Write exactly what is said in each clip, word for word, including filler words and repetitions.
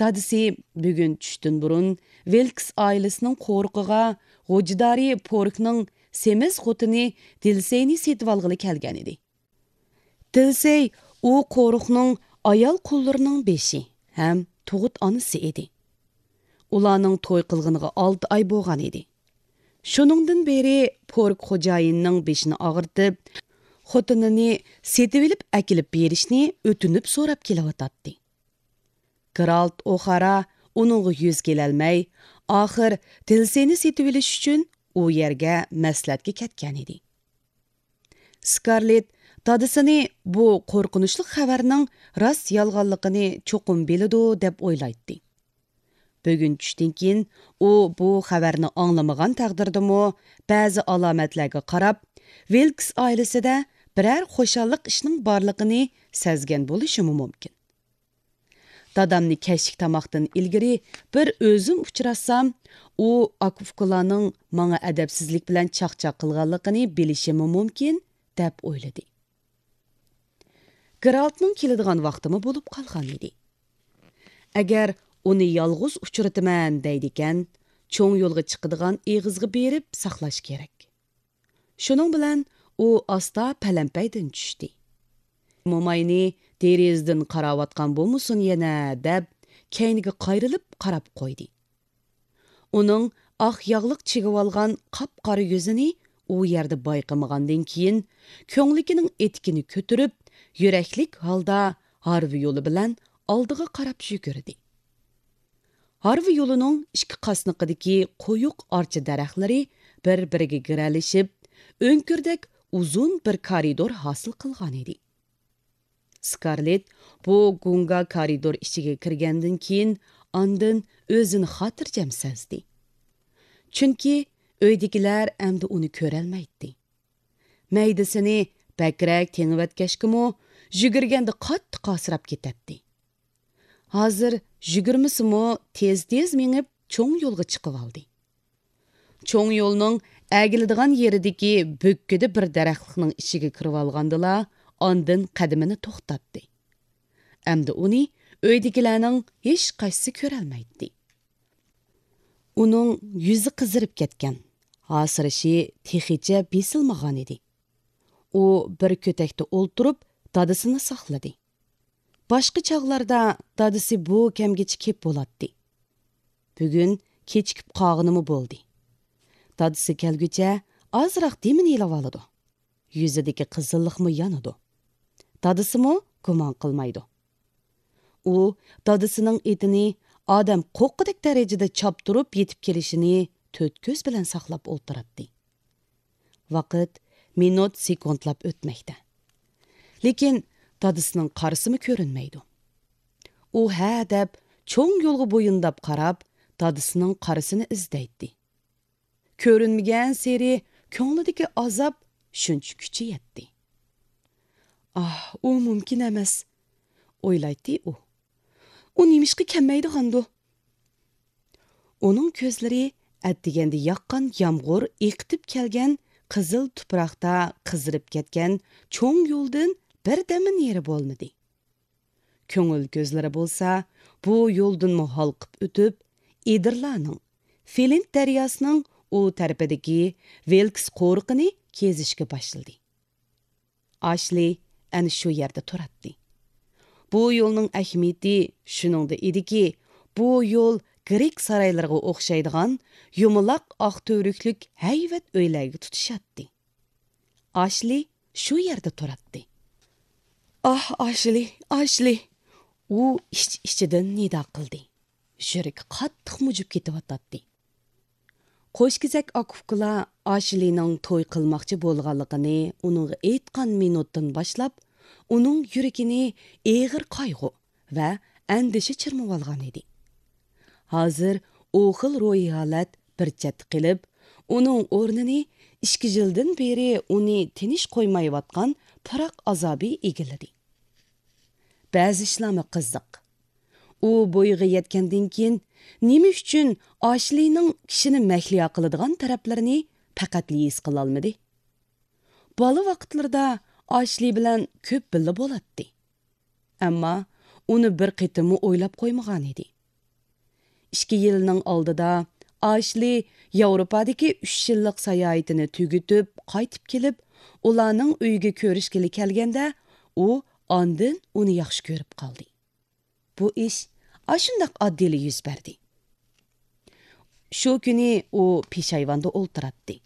دادىسى بۈگۈن چۈشتىن بۇرۇن ۋىلكس ئائىلىسىنىڭ قورۇقىغا غوجىدارى پوركنىڭ سېمىز خوتۇنى دىلسېينى سېتىۋالغىلى كەلگەنىدى. دىلسېي ئۇ قورۇقنىڭ ئايال قۇللىرىنىڭ بېشى ھەم تۇغۇت ئانىسى ئىدى. ئۇلارنىڭ توي قىلغىنىغا ئالتە ئاي بولغان ئىدى. شۇنىڭدىن بېرى پورك خوجايىننىڭ بېشىنى ئاغرىتىپ، خوتۇنىنى سېتىۋېلىپ ئەكېلىپ بېرىشنى ئۆتۈنۈپ سوراپ كېلىۋاتاتتى. گېرالت ئوخارا ئۇنىڭغا يۈز كېلەلمەي، ئاخىر دىلسېينى سېتىۋېلىش ئۈچۈن ئۇ يەرگە مەسلىھەتكە كەتكەنىدى. سكارلېت دادىسىنى بۇ قورقۇنچلۇق خەۋەرنىڭ راست يالغانلىقىنى چوقۇم بىلىدۇ دەپ ئويلايتتى. بۈگۈن چۈشتىن كېيىن ئۇ بۇ خەۋەرنى ئاڭلىمىغان تەقدىردىمۇ، بەزى ئالامەتلەرگە قاراپ، ۋىلكس ئائىلىسىدە بىرەر خۇشاللىق ئىشنىڭ بارلىقىنى سەزگەن بولۇشىمۇ مۇمكىن. دادامنى كەچلىك تاماقتىن ئىلگىرى بىر ئۆزۈم ئۇچراتسام، ئۇ ئاكا-ئۇكىلارنىڭ ماڭا ئەدەپسىزلىك بىلەن چاقچاق قىلغانلىقىنى بىلىشىمۇ مۇمكىن، دەپ ئويلىدى. گېرالتنىڭ كېلىدىغان ۋاقتىمۇ بولۇپ قالغان ئىدى. ئەگەر ئۇنى يالغۇز ئۇچرىتىمەن دەيدىكەن، چوڭ يولغا چىقىدىغان ئېغىزغا بېرىپ ساقلاش كېرەك. شۇنىڭ بىلەن ئۇ ئاستا پەلەمپەيدىن چۈشتى. موماينى دېرىزىدىن قاراۋاتقان بولمىسۇن يەنە، دەپ كەينىگە قايرىلىپ قاراپ قويدى. ئۇنىڭ ئاق ياغلىق چىگىۋالغان قاپقارا يۈزىنى ئۇ يەردە بايقىمىغاندىن كېيىن، كۆڭلىكىنىڭ ئېتىكىنى كۆتۈرۈپ، يۈرەكلىك ھالدا ھارۋا يولى بىلەن ئالدىغا قاراپ يۈگۈردى. ھارۋا يولىنىڭ ئىككى قاسنىقىدىكى قويۇق ئارچا دەرەخلىرى بىر-بىرىگە گىرەلىشىپ، ئۆڭكۈردەك ئۇزۇن بىر كارىدور ھاسىل قىلغانىدى. سكارلېت بۇ گۇڭگا كارىدور ئىچىگە كىرگەندىن كېيىن، ئاندىن ئۆزىنى خاتىرجەم سەزدى. چۈنكى ئۆيدىكىلەر ئەمدى ئۇنى كۆرەلمەيتتى. مەيدىسىنى بەكرەك تېڭىۋەتكەچكىمۇ، يۈگۈرگەندە قاتتىق ھاسىراپ كېتەتتى. ھازىر يۈگۈرمىسىمۇ، تېز-تېز مېڭىپ، چوڭ يولغا چىقىۋالدى. چوڭ يولنىڭ ئەگىلىدىغان يېرىدىكى بۆككىدە بىر دەرەخلىكنىڭ ئىچىگە كىرىۋالغاندىلا، ئاندىن قەدىمىنى توختاتتى. ئەمدى ئۇنى ئۆيدىكىلەرنىڭ ھېچقايسىسى كۆرەلمەيتتى. ئۇنىڭ يۈزى قىزىرىپ كەتكەن، ھاسىرىشى تېخىچە بېسىلمىغانىدى. ئۇ بىر كۆتەكتە ئولتۇرۇپ، دادىسىنى ساقلىدى. باشقا چاغلاردا دادىسى بۇ كەمگىچە كېپ بولاتتى. بۈگۈن كېچىكىپ قالغىنىمۇ بولدى. دادىسى كەلگۈچە ئازراق دېمىنى ئېلىۋالىدۇ. يۈزىدىكى قىزىللىقمۇ يانىدۇ. دادىسىمۇ گۇمان قىلمايدۇ. ئۇ دادىسىنىڭ ئېتىنى ئادەم قوققۇدەك دەرىجىدە چاپتۇرۇپ يېتىپ كېلىشىنى تۆت كۆز بىلەن ساقلاپ ئولتۇراتتى. ۋاقىت مىنۇت، سېكۇنتلاپ ئۆتمەكتە. لېكىن دادىسىنىڭ قارىسىمۇ كۆرۈنمەيدۇ. ئۇ ھە دەپ چوڭ يولغا بويۇنداپ قاراپ، دادىسىنىڭ قارىسىنى ئىزدەيتتى. كۆرۈنمىگەنسېرى كۆڭلىدىكى ئازاب شۇنچە كۈچىيەتتى. ئاھ، ئۇ مۇمكىن ئەمەس، ئويلايتتى ئۇ. ئۇ نېمىشقا كەلمەيدىغاندۇ؟ ئۇنىڭ كۆزلىرى ئەتىگەندە ياغقان يامغۇر ئېقىتىپ كەلگەن قىزىل تۇپراقتا قىزىرىپ كەتكەن چوڭ يولدىن بىردەممۇ نېرى بولمىدى. كۆڭۈل كۆزلىرى بولسا بۇ يولدىنمۇ ھالقىپ ئۆتۈپ، ئېدىرلارنىڭ، فىلىنت دەرياسىنىڭ ئۇ تەرىپىدىكى ۋىلكس قورۇقىنى كېزىشكە باشلىدى. ئاشلى ئەنە شۇ يەردە تۇراتتى. بۇ يولنىڭ ئەھمىيىتى شۇنىڭدا ئىدىكى، بۇ يول گرېك سارايلىرىغا ئوخشايدىغان يۇمىلاق ئاق تۈۋرۈكلۈك ھەيۋەت ئۆيلەرگە تۇتىشاتتى. ئاشلى شۇ يەردە تۇراتتى. ئاھ، ئاشلى، ئاشلى! ئۇ ئىچ-ئىچىدىن نىدا قىلدى. يۈرىكى قاتتىق مۇجۇپ كېتىۋاتاتتى. قوشكېزەك ئاكا-ئۇكىلار ئاشلىنىڭ توي قىلماقچى بولغانلىقىنى ئۇنىڭغا ئېيتقان مىنۇتتىن باشلاپ، ئۇنىڭ يۈرىكىنى ئېغىر قايغۇ ۋە ئەندىشە چىرمىۋالغان ئىدى. ھازىر ئۇ خىل روھىي ھالەت بىر چەتتە قېلىپ، ئۇنىڭ ئورنىنى ئىككى يىلدىن بېرى ئۇنى تىنچ قويمايۋاتقان پىراق ئازابى ئىگىلىدى. بەزى ئىشلارمۇ قىزىق. ئۇ بويىغا يەتكەندىن كېيىن نېمە ئۈچۈن ئاشلىنىڭ كىشىنى مەھلىيا قىلىدىغان تەرەپلىرىنى پەقەتلا ھېس قىلالمىدى؟ بالا ۋاقىتلىرىدا ئاشلى بىلەن كۆپ بىللە بولاتتى. ئەمما ئۇنى بىر قېتىممۇ ئويلاپ قويمىغان ئىدى. ئىككى يىلنىڭ ئالدىدا ئاشلى ياۋروپادىكى ئۈچ يىللىق ساياھىتىنى تۈگىتىپ قايتىپ كېلىپ، ئۇلارنىڭ ئۆيىگە كۆرۈشكىلى كەلگەندە، ئۇ ئاندىن ئۇنى ياخشى كۆرۈپ قالدى. بۇ ئىش ئاشۇنداق ئاددىيلا يۈز بەردى. شۇ كۈنى ئۇ پېشايۋاندا ئولتۇراتتى.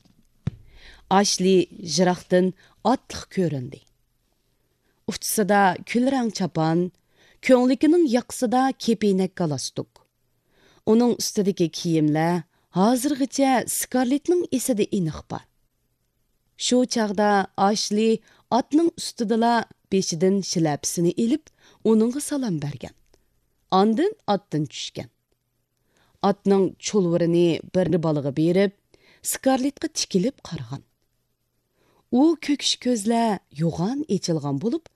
ئاشلى يىراقتىن ئاتلىق كۆرۈندى. ئۇچىسىدا كۈلرەڭ چاپان، كۆڭلىكىنىڭ ياقىسىدا كېپىنەك گالستۇك. ئۇنىڭ ئۈستىدىكى كىيىملەر ھازىرغىچە سكارلېتنىڭ ئېسىدە ئېنىق بار. شۇ چاغدا ئاشلى ئاتنىڭ ئۈستىدىلا بېشىدىن شىلەپىسىنى ئېلىپ، ئۇنىڭغا سالام بەرگەن. ئاندىن ئاتتىن چۈشكەن. ئاتنىڭ چۇلۋۇرىنى بىر بالىغا بېرىپ، سكارلېتقا تىكىلىپ قارىغان. ئۇ كۆكۈش كۆزلەر يوغان ئېچىلغان بولۇپ،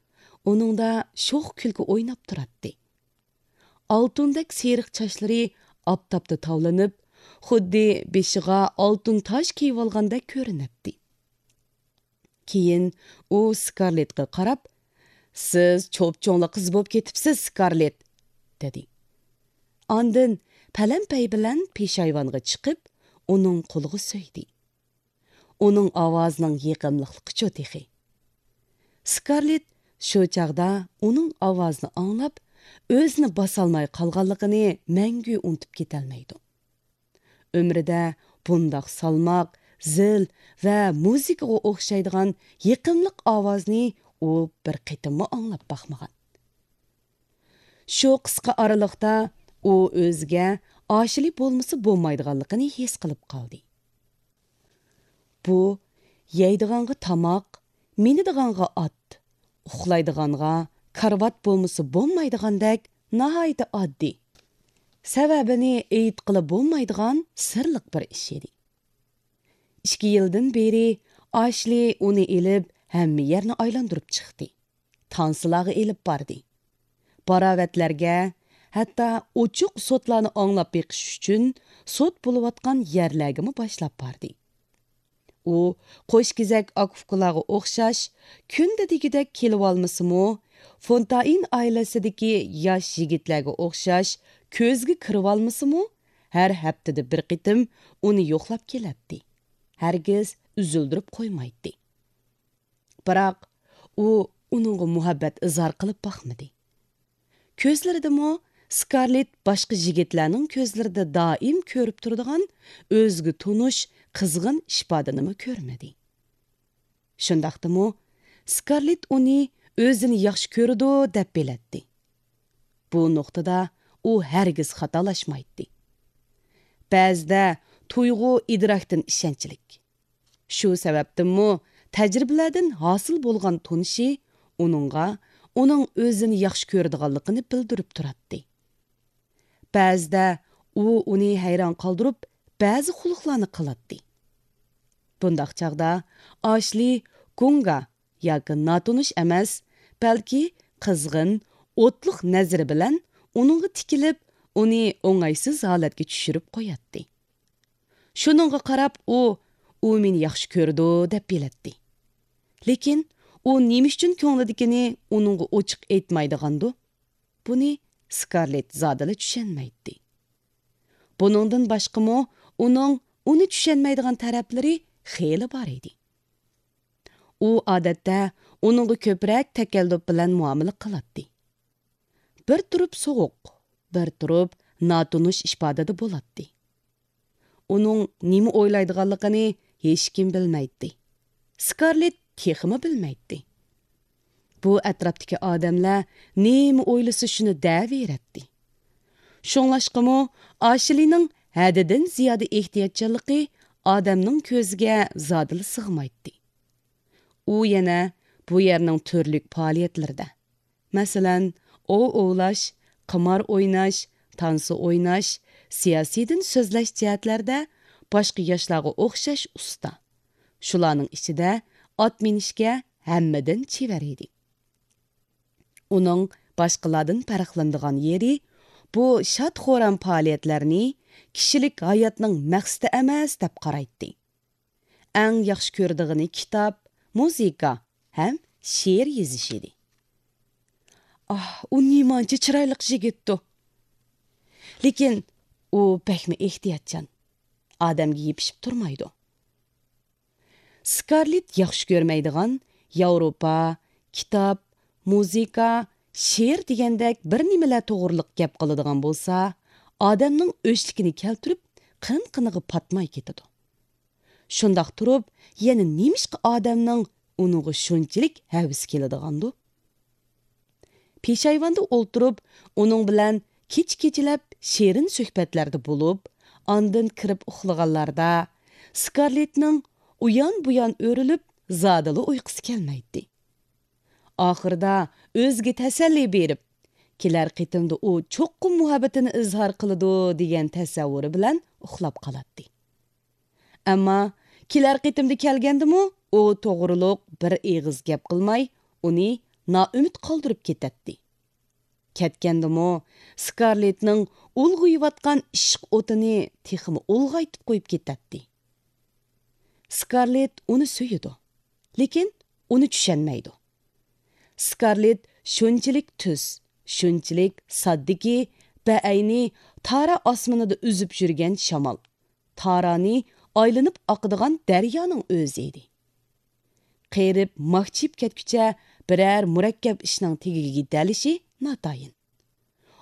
ئۇنىڭدا شوخ كۈلكە ئويناپ تۇراتتى. ئالتۇندەك سېرىق چاچلىرى ئاپتاپتا تاۋلىنىپ، خۇددى بېشىغا ئالتۇن تاج كىيىۋالغاندەك كۆرۈنەتتى. كېيىن ئۇ سكارلېتقا قاراپ، «سىز چوپچوڭلا قىز بولۇپ كېتىپسىز، سكارلېت!» دېدى. ئاندىن پەلەمپەي بىلەن پېشايۋانغا چىقىپ، ئۇنىڭ قولىغا سۆيدى. ئۇنىڭ ئاۋازىنىڭ يېقىملىقلىقىچۇ تېخى! سكارلېت شۇ چاغدا ئۇنىڭ ئاۋازىنى ئاڭلاپ، ئۆزىنى باسالماي قالغانلىقىنى مەڭگۈ ئۇنتۇپ كېتەلمەيدۇ. ئۆمرىدە بۇنداق سالماق، زىل ۋە مۇزىكىغا ئوخشايدىغان يېقىملىق ئاۋازنى ئۇ بىر قېتىممۇ ئاڭلاپ باقمىغان. شۇ قىسقا ئارىلىقتا ئۇ ئۆزىگە ئاشلى بولمىسا بولمايدىغانلىقىنى ھېس قىلىپ قالدى. بۇ يەيدىغانغا تاماق، مىنىدىغانغا ئات، ئۇخلايدىغانغا كارىۋات بولمىسا بولمايدىغاندەك ناھايىتى ئاددىي، سەۋەبىنى ئېيتقىلى بولمايدىغان سىرلىق بىر ئىش ئىدى. ئىككى يىلدىن بېرى ئاشلى ئۇنى ئېلىپ ھەممە يەرنى ئايلاندۇرۇپ چىقتى. تانسىلارغا ئېلىپ باردى. باراۋەتلەرگە، ھەتتا ئوچۇق سوتلارنى ئاڭلاپ بېقىش ئۈچۈن سوت بولۇۋاتقان يەرلەرگىمۇ باشلاپ باردى. ئۇ قوشكېزەك ئاكا-ئۇكىلارغا ئوخشاش كۈندە دېگۈدەك كېلىۋالمىسىمۇ، فونتائىن ئائىلىسىدىكى ياش يىگىتلەرگە ئوخشاش كۆزگە كىرىۋالمىسىمۇ، ھەر ھەپتىدە بىر قېتىم ئۇنى يوقلاپ كېلەتتى. ھەرگىز ئۈزۈلدۈرۈپ قويمايتتى. بىراق ئۇ ئۇنىڭغا مۇھەببەت ئىزھار قىلىپ باقمىدى. كۆزلىرىدىمۇ سكارلېت باشقا يىگىتلەرنىڭ كۆزلىرىدە دائىم كۆرۈپ تۇرىدىغان ئۆزىگە تونۇش قىزغىن ئىپادىنىمۇ كۆرمىدى. شۇنداقتىمۇ سكارلېت ئۇنى ئۆزىنى ياخشى كۆرىدۇ دەپ بىلەتتى. بۇ نۇقتىدا ئۇ ھەرگىز خاتالاشمايتتى. بەزىدە تۇيغۇ ئىدراكتىن ئىشەنچلىك. شۇ سەۋەبتىنمۇ تەجرىبىلەردىن ھاسىل بولغان تونۇشى ئۇنىڭغا ئۇنىڭ ئۆزىنى ياخشى كۆرىدىغانلىقىنى بىلدۈرۈپ تۇراتتى. بەزىدە ئۇ ئۇنى ھەيران قالدۇرۇپ، بەزى قۇلۇقلارنى قىلاتتى. بۇنداق چاغدا ئاشلى گۇڭگا ياكى ناتونۇش ئەمەس، بەلكى قىزغىن، ئوتلۇق نەزىرى بىلەن ئۇنىڭغا تىكىلىپ، ئۇنى ئوڭايسىز ھالەتكە چۈشۈرۈپ قوياتتى. شۇنىڭغا قاراپ ئۇ، ئۇ مېنى ياخشى كۆرىدۇ دەپ بىلەتتى. لېكىن ئۇ نېمە ئۈچۈن كۆڭلىدىكىنى ئۇنىڭغا ئوچۇق ئېيتمايدىغاندۇ؟ بۇنى سكارلېت زادىلا چۈشەنمەيتتى. بۇنىڭدىن باشقىمۇ ئۇنىڭ ئۇنى چۈشەنمەيدىغان تەرەپلىرى خېلى بار ئىدى. ئۇ ئادەتتە ئۇنىڭغا كۆپرەك تەكەللۇپ بىلەن مۇئامىلە قىلاتتى. بىر تۇرۇپ سوغۇق، بىر تۇرۇپ ناتونۇش ئىپادىدە بولاتتى. ئۇنىڭ نېمە ئويلايدىغانلىقىنى ھېچكىم بىلمەيتتى. سكارلېت تېخىمۇ بىلمەيتتى. بۇ ئەتراپتىكى ئادەملەر نېمە ئويلىسا شۇنى دەۋېرەتتى. شۇڭلاشقىمۇ ئاشلىنىڭ ھەددىدىن زىيادە ئېھتىياتچانلىقى ئادەمنىڭ كۆزىگە زادىلا سىغمايتتى. ئۇ يەنە بۇ يەرنىڭ تۈرلۈك پائالىيەتلىرىدە، مەسىلەن، ئوۋ ئوۋلاش، قىمار ئويناش، تانسا ئويناش، سىياسىيدىن سۆزلەش جەھەتلەردە باشقا ياشلارغا ئوخشاش ئۇستا. شۇلارنىڭ ئىچىدە ئات مىنىشكە ھەممىدىن چېۋەر ئىدى. ئۇنىڭ باشقىلاردىن پەرقلىنىدىغان يېرى، بۇ شاد-خۇرام پائالىيەتلەرنى كىشىلىك ھاياتنىڭ مەقسىتى ئەمەس دەپ قارايتتى. ئەڭ ياخشى كۆرىدىغىنى كىتاب، مۇزىكا ھەم شېئىر يېزىش ئىدى. ئاھ، ئۇ نېمانچە چىرايلىق يىگىتتۇ! لېكىن ئۇ بەكمۇ ئېھتىياتچان. ئادەمگە يېپىشىپ تۇرمايدۇ. سكارلېت ياخشى كۆرمەيدىغان ياۋروپا، كىتاب، مۇزىكا، شېئىر دېگەندەك بىر نېمىلەر توغرىلىق گەپ قىلىدىغان بولسا، ئادەمنىڭ ئۆچلۈكىنى كەلتۈرۈپ، قىن-قىنىغا پاتماي كېتىدۇ. شۇنداق تۇرۇپ، يەنە نېمىشقا ئادەمنىڭ ئۇنىڭغا شۇنچىلىك ھەۋىسى كېلىدىغاندۇ؟ پېشايۋاندا ئولتۇرۇپ، ئۇنىڭ بىلەن كېچە-كېچىلەپ شېرىن سۆھبەتلەردە بولۇپ، ئاندىن كىرىپ ئۇخلىغانلاردا، سكارلېتنىڭ ئۇيان-بۇيان ئۆرۈلۈپ، زادىلا ئۇيقۇسى كەلمەيتتى. ئاخىرىدا ئۆزىگە تەسەللى بېرىپ، كېلەر قېتىمدا ئۇ چوققا مۇھەببىتىنى ئىزھار قىلىدۇ، دېگەن تەسەۋۋۇرى بىلەن ئۇخلاپ قالاتتى. ئەمما كېلەر قېتىمدا كەلگەندىمۇ ئۇ توغرۇلۇق بىر ئېغىز گەپ قىلماي، ئۇنى نائۈمىد قالدۇرۇپ كېتەتتى. كەتكەندىمۇ سكارلېتنىڭ ئۇلغىيىۋاتقان ئىشق ئوتىنى تېخىمۇ ئۇلغايتىپ قويۇپ كېتەتتى. سكارلېت ئۇنى سۆيىدۇ، لېكىن ئۇنى چۈشەنمەيدۇ. سكارلېت شۇنچىلىك تۈز، شۇنچىلىك ساددىكى، بەئەينى تارا ئاسمىنىدا ئۈزۈپ يۈرگەن شامال، تارانى ئايلىنىپ ئاقىدىغان دەريانىڭ ئۆزى ئىدى. قېرىپ، ماكچىيىپ كەتكۈچە بىرەر مۇرەككەپ ئىشنىڭ تېگىگە يېتەلىشى ناتايىن.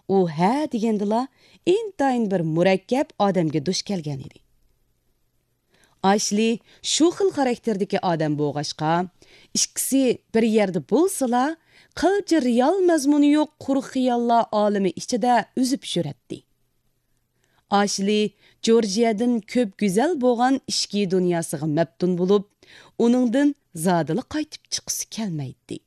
ئۇ ھە دېگەندىلا ئىنتايىن بىر مۇرەككەپ ئادەمگە دۇچ كەلگەن ئىدى. ئاشلى شۇ خىل خاراكتېردىكى ئادەم بولغاچقا، ئىككىسى بىر يەردە بولسىلا، قىلچە رېئال مەزمۇنى يوق قۇرۇق خىياللار ئالىمى ئىچىدە ئۈزۈپ يۈرەتتى. ئاشلى جورجىيەدىن كۆپ گۈزەل بولغان ئىچكى دۇنياسىغا مەپتۇن بولۇپ، ئۇنىڭدىن زادىلا قايتىپ چىققۇسى كەلمەيتتى.